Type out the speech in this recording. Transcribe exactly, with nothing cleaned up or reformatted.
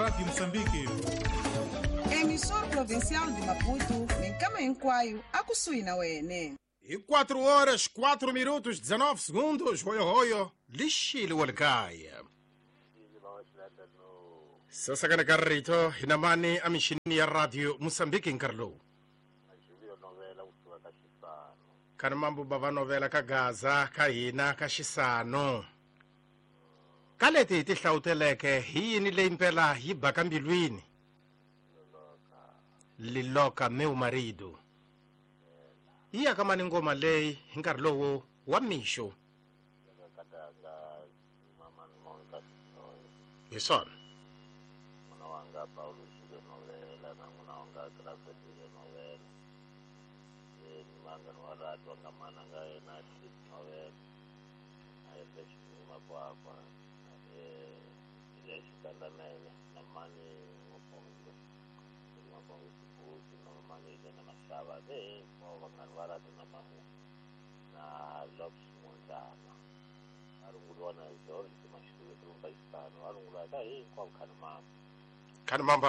Rádio Moçambique. Emissora Provincial de Maputo, minkama hinkwayo akusuhi na wene. E quatro horas, quatro minutos, dezenove segundos. Hoyo hoyo, lixile wa likaya. Sasa kana ka rito hina mani a mixini ya Radio Moçambique nkarhi lowu. Khani mambo bava novela ka Gaza ka hina ka Xisano. Ka leti hi ti hlawuteleke hi yini leyi mpela yi baka mbilwini? Liloka meu marido. Yi ya ka mani ngoma leyi hi nkarhi lowu wa mixo. Hi swona. Khani mamba.